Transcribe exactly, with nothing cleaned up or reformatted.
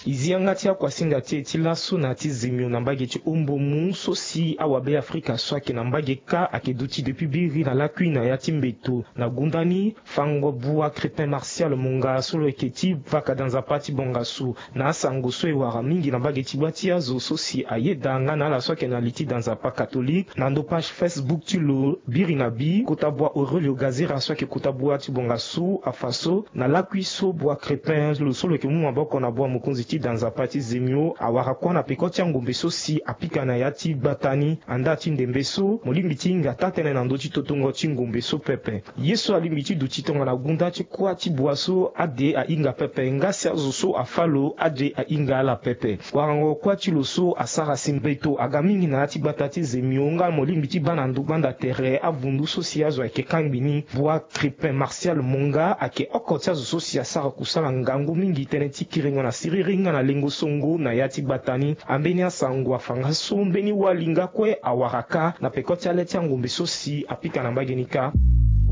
E zi yanga ti akuasinga ti e ti laso na ya ti zemio na mbage ti ombo mu so si awabe afrika so ayeke na mbage kâ ayeke duti depuis biri na lakui na ya ti mbeto. Na gunda ni, fango bua Crépin Martial Monga so lo yeke ti vaka da nzapa ti bongasu na asango so e wara mingi na mbage ti gba ti azo so si ayeda nga na ala so ayeke na li ti da nzapa katolike. Na ndo page Facebook ti lo, biri na bi kota bua Aurelio Gazera so ayeke kota bua ti bongasu afa so na lakui so bua Crépin lo so lo yeke mu maboko na bua mokonzi ti da nzapa ti zemio awara kuâ na peko ti angombe so si apika na ya ti gbata ni. Andaa ti ndembe so, mo lingbi ti hinga taa-tënë na ndö ti totongo ti ngombe so pepe. Ye so alingbi ti duti tongana gunda ti kuâ ti bua so ade ahinga pepe nga si azo so afâ lo ade ahinga ala pepe. Warango kuâ ti lo so asara si mbeto aga mingi na ya ti gbata ti zemio nga mo lingbi ti baa na ndö gbanda tere avundu so si azo ayeke kangbi ni. Bua Crépin Martial Monga ayeke oko ti azo so si asara kusala ngangu mingi tënë ti kiringo na siriri nga na lengo songo na ya ti gbata ni. Ambeni asango afa nga so mbeni wali nga kue awara kâ na peko ti ale ti angombe so si apika na mbage ni kâ.